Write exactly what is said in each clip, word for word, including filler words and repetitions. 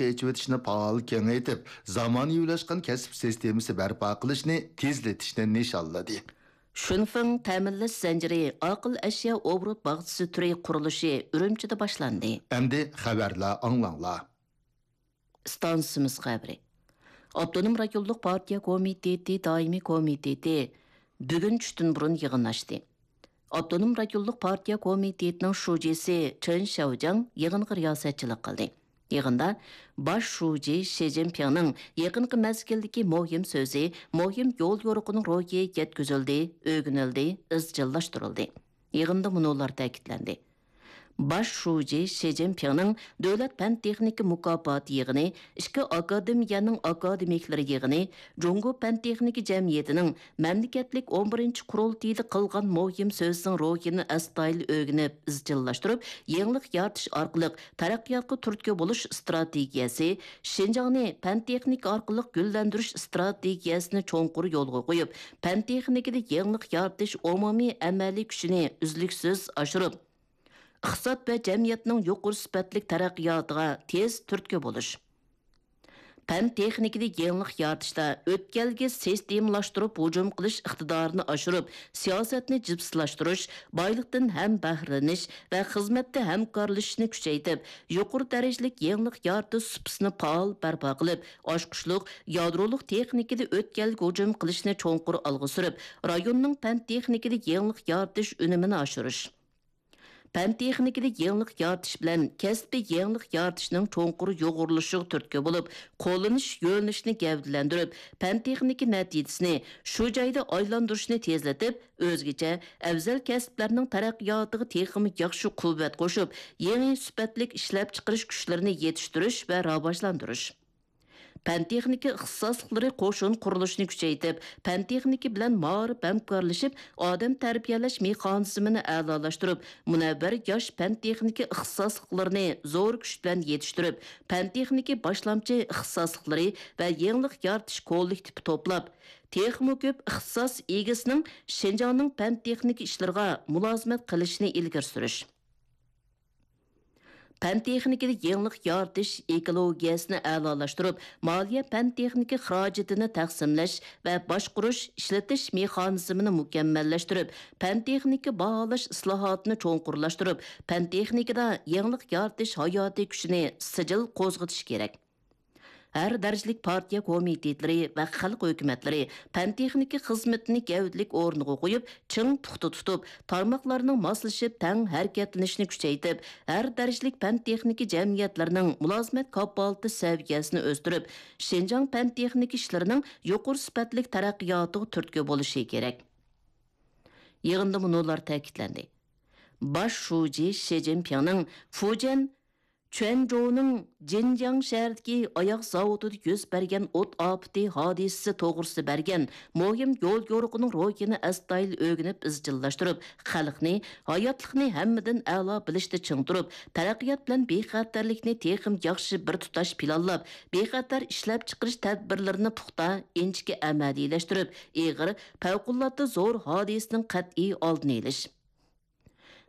ئېچىۋېتىشنى پائال كېڭەيتىپ، زامانىۋىلاشقان كەسىپ سىستېمىسى بەرپا قىلىشنى تېزلىتىشنى نىشانلىدى. شۈنفېڭ تەمىنلەش زەنجىرى ئاقىل ئەشيا ئوبوروت باغچىسى تۈرى قۇرۇلۇشى ئۈرۈمچىدە باشلاندى. ئەمدى خەۋەرلەر ئاڭلاڭلار. ئىستانسىمىز خەۋىرى. ئاپتونوم رايونلۇق پارتىيە كومىتېتى دائىمىي كومىتېتى بۈگۈن چۈشتىن بۇرۇن يىغىن ئاچتى. ئاپتونوم رايونلۇق پارتىيە كومىتېتىنىڭ شۇجىسى چېن شياۋجياڭ يىغىنغا رىياسەتچىلىك قىلدى. يىغىندا باش شۇجى شى جىنپىڭنىڭ يېقىنقى مەزگىلدىكى مۇھىم سۆزى، مۇھىم يول يورۇقىنىڭ روھى يەتكۈزۈلدى، ئۆگىنىلدى، ئىزچىللاشتۇرۇلدى. يىغىندا مۇنۇلار تەكىتلەندى. باش شۇجى شى جىنپىڭنىڭ دۆلەت پەن-تېخنىكا مۇكاپاتى يىغىنى، ئىككى ئاكادېمىيەنىڭ ئاكادېمىكلىرى يىغىنى، جۇڭگو پەن-تېخنىكا جەمئىيىتىنىڭ مەملىكەتلىك ئون بىرىنچى قۇرۇلتىيىدا قىلغان مۇھىم سۆزىنىڭ روھىنى ئەستايىدىل ئۆگىنىپ، ئىزچىللاشتۇرۇپ، يېڭىلىق يارىتىش ئارقىلىق تەرەققىياتقا تۈرتكە بولۇش ئىستراتېگىيەسى، شىنجاڭنى پەن-تېخنىكا ئارقىلىق گۈللەندۈرۈش ئىستراتېگىيەسىنى چوڭقۇر يولغا قويۇپ، پەن-تېخنىكىدا يېڭىلىق يارىتىش ئومۇمىي ئەمەلىي كۈچىنى ئۈزلۈكسىز ئاشۇرۇپ، ئىقتىساد ۋە جەمئىيەتنىڭ يۇقىرى سۈپەتلىك تەرەققىياتىغا تېز تۈرتكە بولۇش. پەن-تېخنىكىدا يېڭىلىق يارىتىشتا ئۆتكەلگە سىستېمىلاشتۇرۇپ ھۇجۇم قىلىش ئىقتىدارىنى ئاشۇرۇپ، سىياسەتنى جىپسىلاشتۇرۇش، بايلىقتىن ھەمبەھرىلىنىش ۋە خىزمەتتە ھەمكارلىشىشنى كۈچەيتىپ، يۇقىرى دەرىجىلىك يېڭىلىق يارىتىش سۇپىسىنى پائال بەرپا قىلىپ، ئاچقۇچلۇق يادرولۇق تېخنىكىدا ئۆتكەلگە ھۇجۇم قىلىشنى چوڭقۇر ئالغا سۈرۈپ، رايوننىڭ پەن-تېخنىكىدا يېڭىلىق يارىتىش ئۈنۈمىنى ئاشۇرۇش. پەن-تېخنىكىدا يېڭىلىق يارىتىش بىلەن كەسپىي يېڭىلىق يارىتىشنىڭ چوڭقۇر يۇغۇرۇلۇشىغا تۈرتكە بولۇپ، قوللىنىش يۆنىلىشىنى گەۋدىلەندۈرۈپ، پەن-تېخنىكا نەتىجىسىنى شۇ جايدا ئايلاندۇرۇشنى تېزلىتىپ، ئۆزگىچە ئەۋزەل كەسىپلەرنىڭ تەرەققىياتىغا تېخىمۇ ياخشى قۇۋۋەت قوشۇپ، يېڭى سۈپەتلىك ئىشلەپچىقىرىش كۈچلىرىنى يېتىشتۈرۈش ۋە راۋاجلاندۇرۇش. پەن-تېخنىكا ئىختىساسلىقلىرى قوشۇن قۇرۇلۇشىنى كۈچەيتىپ، پەن-تېخنىكا بىلەن مائارىپ ھەمكارلىشىپ، ئادەم تەربىيەلەش مېخانىزمىنى ئەلالاشتۇرۇپ، مۇنەۋۋەر ياش پەن-تېخنىكا ئىختىساسلىقلىرىنى زور كۈچ بىلەن يېتىشتۈرۈپ، پەن-تېخنىكا باشلامچى ئىختىساسلىقلىرى ۋە يېڭىلىق يارىتىش كوللېكتىپى توپلاپ، تېخىمۇ كۆپ ئىختىساس ئىگىسىنىڭ شىنجاڭنىڭ پەن-تېخنىكا ئىشلىرىغا مۇلازىمەت قىلىشىنى ئىلگىرى سۈرۈش. پەن-تېخنىكىدا يېڭىلىق يارىتىش ئېكولوگىيەسىنى ئەلالاشتۇرۇپ، مالىيە پەن-تېخنىكا خىراجىتىنى تەقسىملەش ۋە باشقۇرۇش، ئىشلىتىش مېخانىزمىنى مۇكەممەللەشتۈرۈپ، پەن-تېخنىكا باھالاش ئىسلاھاتىنى چوڭقۇرلاشتۇرۇپ، پەن-تېخنىكىدا يېڭىلىق يارىتىش ھاياتىي كۈچىنى سىجىل قوزغىتىش كېرەك. ھەر دەرىجىلىك پارتىيە كومىتېتلىرى ۋە خەلق ھۆكۈمەتلىرى پەن-تېخنىكا خىزمىتىنى گەۋدىلىك ئورۇنغا قويۇپ، چىڭ پۇختا تۇتۇپ، تارماقلارنىڭ ماسلىشىپ تەڭ ھەرىكەتلىنىشىنى كۈچەيتىپ، ھەر دەرىجىلىك پەن-تېخنىكا جەمئىيەتلىرىنىڭ مۇلازىمەت كاپالىتى سەۋىيەسىنى ئۆستۈرۈپ، شىنجاڭ پەن-تېخنىكا ئىشلىرىنىڭ يۇقىرى سۈپەتلىك تەرەققىياتىغا تۈرتكە بولۇشى كېرەك. يىغىندا مۇنۇلار تەكىتلەندى. باش شۇجى شى جىنپىڭنىڭ فۇجيەن چۈەنجۇنىڭ جىنجياڭ شەھىرىدىكى ئاياغ زاۋۇتىدا يۈز بەرگەن ئوت ئاپىتى ھادىسىسى توغرىسىدا بەرگەن مۇھىم يول يورۇقىنىڭ روھىنى ئەستايىدىل ئۆگىنىپ ئىزچىللاشتۇرۇپ، خەلقنى، ھاياتلىقنى ھەممىدىن ئەلا بىلىشتە چىڭ تۇرۇپ، تەرەققىيات بىلەن بىخەتەرلىكنى تېخىمۇ ياخشى بىر تۇتاش پىلانلاپ، بىخەتەر ئىشلەپچىقىرىش تەدبىرلىرىنى پۇختا، ئىنچىكە ئەمەلىيلەشتۈرۈپ، ئېغىر، پەۋقۇلئاددە زور ھادىسىنىڭ قەتئىي ئالدىنى ئېلىش.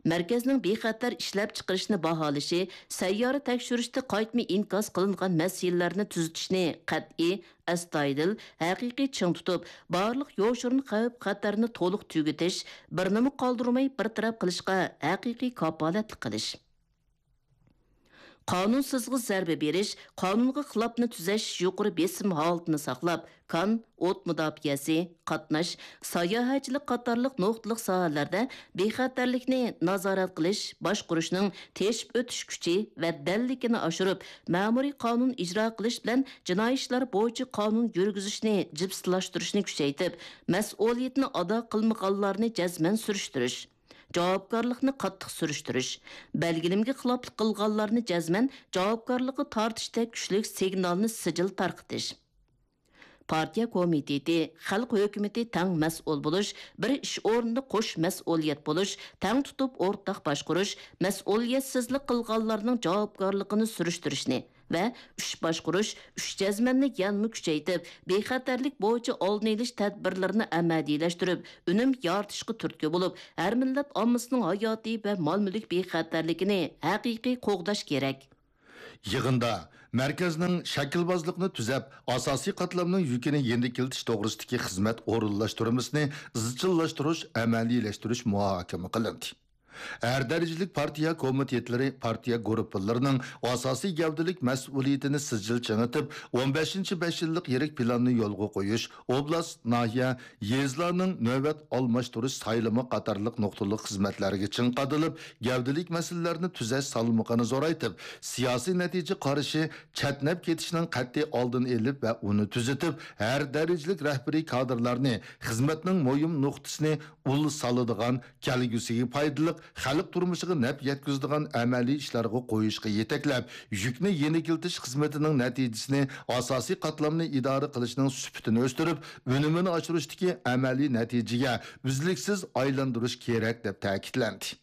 مەركەزنىڭ بىخەتەر ئىشلەپچىقىرىشنى باھالىشى، سەييارە تەكشۈرۈشتە قايتما ئىنكاس قىلىنغان مەسىلىلەرنى تۈزىتىشنى قەتئىي، ئەستايىدىل، ھەقىقىي چىڭ تۇتۇپ، بارلىق يوشۇرۇن خەۋپ-خەتەرنى تولۇق تۈگىتىش، بىرنىمۇ قالدۇرماي بىر تەرەپ قىلىشقا ھەقىقىي كاپالەتلىك قىلىش. قانۇنسىزغا زەربە بېرىش، قانۇنغا خىلاپنى تۈزەش يۇقىرى بېسىم ھالىتىنى ساقلاپ، كان، ئوت مۇداپىئەسى، قاتناش، ساياھەتچىلىك قاتارلىق نۇقتىلىق ساھەلەردە بىخەتەرلىكنى نازارەت قىلىش، باشقۇرۇشنىڭ تېشىپ ئۆتۈش كۈچى ۋە دەللىكىنى ئاشۇرۇپ، مەمۇرىي قانۇن ئىجرا قىلىش بىلەن جىنايى ئىشلار بويىچە قانۇن يۈرگۈزۈشنى جىپسىلاشتۇرۇشنى كۈچەيتىپ، مەسئۇلىيىتىنى ئادا قىلمىغانلارنى جەزمەن سۈرۈشتۈرۈش. جاۋابكارلىقنى قاتتىق سۈرۈشتۈرۈش، بەلگىلىمىگە خىلاپلىق قىلغانلارنى جەزمەن جاۋابكارلىققا تارتىشتەك كۈچلۈك سىگنالنى سىجىل تارقىتىش. پارتىيە كومىتېتى، خەلق ھۆكۈمىتى تەڭ مەسئۇل بولۇش، بىر ئىش ئورنىدا قوش مەسئۇلىيەت بولۇش، تەڭ تۇتۇپ ئورتاق باشقۇرۇش، مەسئۇلىيەتسىزلىك قىلغانلارنىڭ جاۋابكارلىقىنى سۈرۈشتۈرۈشنى، ۋە ئۈچ باشقۇرۇش، ئۈچ جەزمەننى يەنىمۇ كۈچەيتىپ، بىخەتەرلىك بويىچە ئالدىنى ئېلىش تەدبىرلىرىنى ئەمەلىيلەشتۈرۈپ، ئۈنۈم يارىتىشقا تۈرتكە بولۇپ، ھەر مىللەت ئاممىسىنىڭ ھاياتىي ۋە مال-مۈلۈك بىخەتەرلىكىنى ھەقىقىي قوغداش كېرەك. يىغىندا مەركەزنىڭ شەكىلۋازلىقنى تۈزەپ، ئاساسىي قاتلامنىڭ يۈكىنى يېنىكلىتىش توغرىسىدىكى خىزمەت ئورۇنلاشتۇرمىسىنى ئىزچىللاشتۇرۇش، ئەمەلىيلەشتۈرۈش مۇھاكىمە قىلىندى. ھەر دەرىجىلىك پارتىيە كومىتېتلىرى، پارتىيە گۇرۇپپىلىرىنىڭ ئاساسىي گەۋدىلىك مەسئۇلىيىتىنى سىجىل چىڭىتىپ، ئون بەشىنچى بەش يىللىق يىرىك پىلاننى يولغا قويۇش، ئوبلاست، ناھىيە، يېزىلارنىڭ نۆۋەت ئالماشتۇرۇش سايلىمى قاتارلىق نۇقتىلىق خىزمەتلەرگە چىڭ قادىلىپ، گەۋدىلىك مەسىلىلەرنى تۈزەش سالمىقىنى زورايتىپ، سىياسىي نەتىجە قارىشى، چەتنەپ كېتىشنىڭ قەتئىي ئالدىنى ئېلىپ ۋە ئۇنى تۈزىتىپ، ھەر دەرىجىلىك رەھبىرىي كادىرلارنى خىزمەتنىڭ مۇھىم نۇقتىسىنى ئۇل سالىدىغان، كەلگۈسىگە پايدىلىق، خەلق تۇرمۇشىغا نەپ يەتكۈزىدىغان ئەمەلىي ئىشلارغا قويۇشقا يېتەكلەپ، يۈكنى يېنىكلىتىش خىزمىتىنىڭ نەتىجىسىنى، ئاساسىي قاتلامنى ئىدارە قىلىشنىڭ سۈپىتىنى ئۆستۈرۈپ، ئۈنۈمىنى ئاشۇرۇشتىكى ئەمەلىي نەتىجىگە ئۈزلۈكسىز ئايلاندۇرۇش كېرەك، دەپ تەكىتلەندى.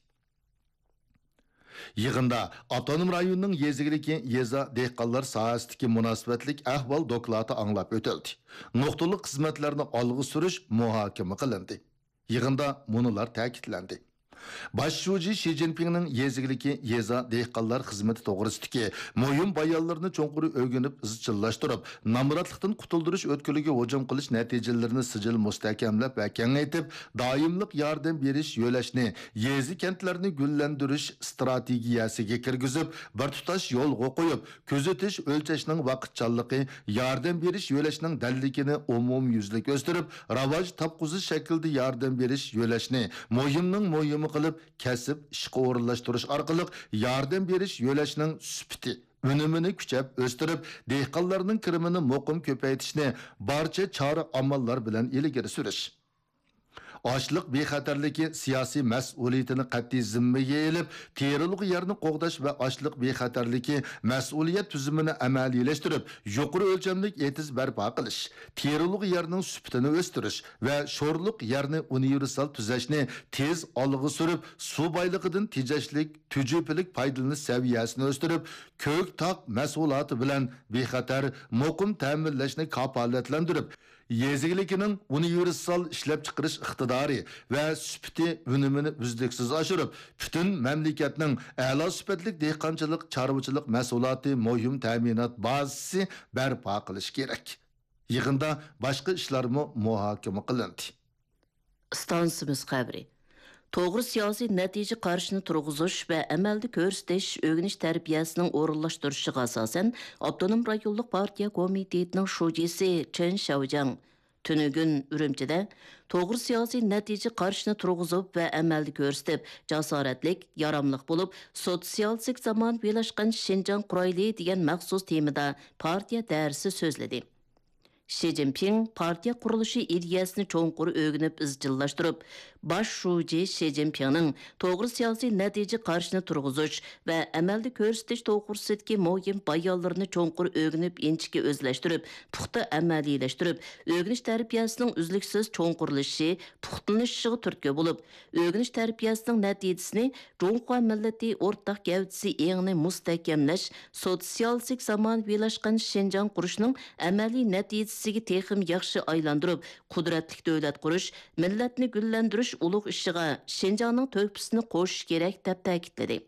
يىغىندا ئاپتونوم رايوننىڭ يېزا ئىگىلىكى، يېزا دېھقانلار ساھەسىدىكى مۇناسىۋەتلىك ئەھۋال دوكلاتى ئاڭلاپ ئۆتۈلدى. نۇقتىلىق خىزمەتلەرنى ئالغا سۈرۈش مۇھاكىمە قىلىندى. يىغىندا مۇنۇلار تەكىتلەندى. باش شۇجى شى جىنپىڭنىڭ يېزا ئىگىلىكى، يېزا دېھقانلار خىزمىتى توغرىسىدىكى مۇھىم بايانلىرىنى چوڭقۇر ئۆگىنىپ ئىزچىللاشتۇرۇپ، نامراتلىقتىن قۇتۇلدۇرۇش ئۆتكىلىگە ھۇجۇم قىلىش نەتىجىلىرىنى سىجىل مۇستەھكەملەپ ۋە كېڭەيتىپ، دائىملىق ياردەم بېرىش يۆلەشنى يېزا، كەنتلەرنى گۈللەندۈرۈش ئىستراتېگىيەسىگە كىرگۈزۈپ، بىر تۇتاش يولغا قويۇپ، كۆزىتىش، ئۆلچەشنىڭ ۋاقىتچانلىقى، ياردەم بېرىش يۆلەشنىڭ دەللىكىنى ئومۇميۈزلۈك ئۆستۈرۈپ، راۋاج تاپقۇزۇش شەكلىدە ياردەم بېرىش يۆلەشنى مۇھىمنىڭ مۇھىمى قىلىپ، كەسىپ، ئىشقا ئورۇنلاشتۇرۇش ئارقىلىق ياردەم بېرىش يۆلەشنىڭ سۈپىتى، ئۈنۈمىنى كۈچەپ ئۆستۈرۈپ، دېھقانلارنىڭ كىرىمىنى مۇقىم كۆپەيتىشنى بارچە چارە-ئاماللار بىلەن ئىلگىرى سۈرۈش. ئاشلىق بىخەتەرلىكى سىياسىي مەسئۇلىيىتىنى قەتئىي زىممىگە ئېلىپ، تېرىلغۇ يەرنى قوغداش ۋە ئاشلىق بىخەتەرلىكى مەسئۇلىيەت تۈزۈمىنى ئەمەلىيلەشتۈرۈپ، يۇقىرى ئۆلچەملىك ئېتىز بەرپا قىلىش، تېرىلغۇ يەرنىڭ سۈپىتىنى ئۆستۈرۈش ۋە شورلۇق يەرنى ئۇنىۋېرسال تۈزەشنى تېز ئالغا سۈرۈپ، سۇ بايلىقىدىن تېجەشلىك، تۈجۈپىلىك پايدىلىنىش سەۋىيەسىنى ئۆستۈرۈپ، كۆك تاغ مەھسۇلاتى بىلەن بىخەتەر، مۇقىم تەمىنلەشنى كاپالەتلەندۈرۈپ، يېزا ئىگىلىكىنىڭ ئۇنىۋېرسال ئىشلەپچىقىرىش ئىقتىدارى ۋە سۈپىتى ئۈنۈمىنى ئۈزلۈكسىز ئاشۇرۇپ، پۈتۈن مەملىكەتنىڭ ئەلا سۈپەتلىك دېھقانچىلىق، چارۋىچىلىق مەھسۇلاتى مۇھىم تەمىنات بازىسى بەرپا قىلىش كېرەك. يىغىندا باشقا ئىشلارمۇ مۇھاكىمە قىلىندى. ئىستانسىمىز خەۋىرى. توغرا سىياسىي نەتىجە قارىشىنى تۇرغۇزۇش ۋە ئەمەلدە كۆرسىتىش ئۆگىنىش تەربىيەسىنىڭ ئورۇنلاشتۇرۇشىغا ئاساسەن، ئاپتونوم رايونلۇق پارتىيە كومىتېتىنىڭ شۇجىسى چېن شياۋجياڭ تۈنۈگۈن ئۈرۈمچىدە توغرا سىياسىي نەتىجە قارىشىنى تۇرغۇزۇپ ۋە ئەمەلدە كۆرسىتىپ، جاسارەتلىك، ياراملىق بولۇپ، سوتسىيالىستىك زامانىۋىلاشقان شىنجاڭ قۇرايلى دېگەن مەخسۇس تېمىدا پارتىيە دەرسى سۆزلىدى. شى جىنپىڭ پارتىيە قۇرۇلۇشى ئىدىيەسىنى چوڭقۇر ئۆگىنىپ ئىزچىللاشتۇرۇپ، باش شۇجى شى جىنپىڭنىڭ توغرا سىياسىي نەتىجە قارىشىنى تۇرغۇزۇش ۋە ئەمەلدە كۆرسىتىش توغرىسىدىكى مۇھىم بايانلىرىنى چوڭقۇر ئۆگىنىپ، ئىنچىكە ئۆزلەشتۈرۈپ، پۇختا ئەمەلىيلەشتۈرۈپ، ئۆگىنىش تەربىيەسىنىڭ ئۈزلۈكسىز چوڭقۇرلىشىشى، پۇختىلىنىشىشىغا تۈرتكە بولۇپ، ئۆگىنىش تەربىيەسىنىڭ نەتىجىسىنى جۇڭخۇا مىللىتى ئورتاق گەۋدىسى ئېڭىنى مۇستەھكەملەش، سوتسىيالىستىك زامانىۋىلاشقان شىنجاڭ قۇرۇشنىڭ ئەمەلىي نەتىجىسىگە تېخىمۇ ياخشى ئايلاندۇرۇپ، قۇدرەتلىك دۆلەت قۇرۇش، مىللەتنى گۈللەندۈرۈش ئۇلۇغ ئىشىغا شىنجاڭنىڭ تۆھپىسىنى قوشۇش كېرەك، دەپ تەكىتلىدى.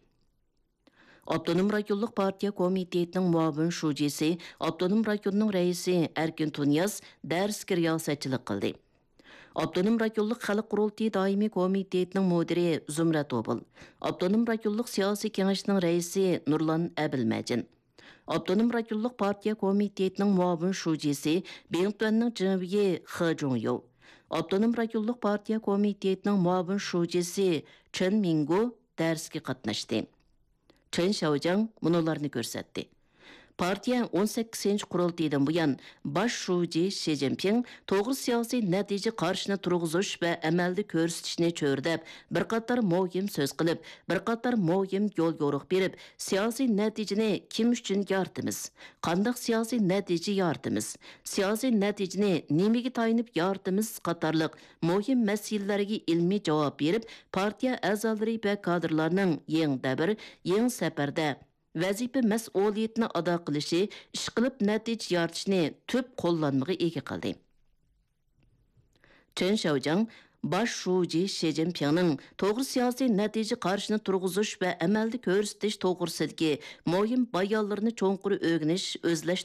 ئاپتونوم رايونلۇق پارتىيە كومىتېتىنىڭ مۇئاۋىن شۇجىسى، ئاپتونوم رايوننىڭ رەئىسى ئەركىن تۇنىياز دەرسكە رىياسەتچىلىك قىلدى. ئاپتونوم رايونلۇق خەلق قۇرۇلتىيى دائىمىي كومىتېتىنىڭ مۇدىرى زۇمرەت ئوبۇل، ئاپتونوم رايونلۇق سىياسىي كېڭەشنىڭ رەئىسى نۇرلان ئەبىلمەجىن، ئاپتونوم رايونلۇق پارتىيە كومىتېتىنىڭ مۇئاۋىن شۇجىسى، بىڭتۈەننىڭ جىڭۋېيى خې جۇڭيۇ، ئاپتونوم رايونلۇق پارتىيە كومىتېتىنىڭ مۇئاۋىن شۇجىسى چېن مىڭگو دەرسكە قاتناشتى. چېن شياۋجياڭ مۇنۇلارنى كۆرسەتتى. پارتىيە ئون سەككىزىنچى قۇرۇلتىيىدىن بۇيان، باش شۇجى شى جىنپىڭ توغرا سىياسىي نەتىجە قارىشىنى تۇرغۇزۇش ۋە ئەمەلدە كۆرسىتىشنى چۆرىدەپ، بىر قاتار مۇھىم سۆز قىلىپ، بىر قاتار مۇھىم يول يورۇق بېرىپ، سىياسىي نەتىجىنى كىم ئۈچۈن يارىتىمىز؟ قانداق سىياسىي نەتىجە يارىتىمىز؟ سىياسىي نەتىجىنى نېمىگە تايىنىپ يارىتىمىز؟ قاتارلىق مۇھىم مەسىلىلەرگە ئىلمىي جاۋاب بېرىپ، پارتىيە ئەزالىرى ۋە كادىرلارنىڭ يېڭى دەۋر، يېڭى سەپەردە ۋەزىپە مەسئۇلىيىتىنى ئادا قىلىشى، ئىشقىلىپ نەتىجە يارىتىشنى تۈپ قوللانمىغا ئىگە قىلدى. چېن شياۋجياڭ باش شۇجى شى جىنپىڭنىڭ توغرا سىياسىي نەتىجە قارىشىنى تۇرغۇزۇش ۋە ئەمەلدە كۆرسىتىش توغرىسىدىكى مۇھىم بايانلىرىنى چوڭقۇر ئۆگىنىش، ئۆزلەشتۈرۈش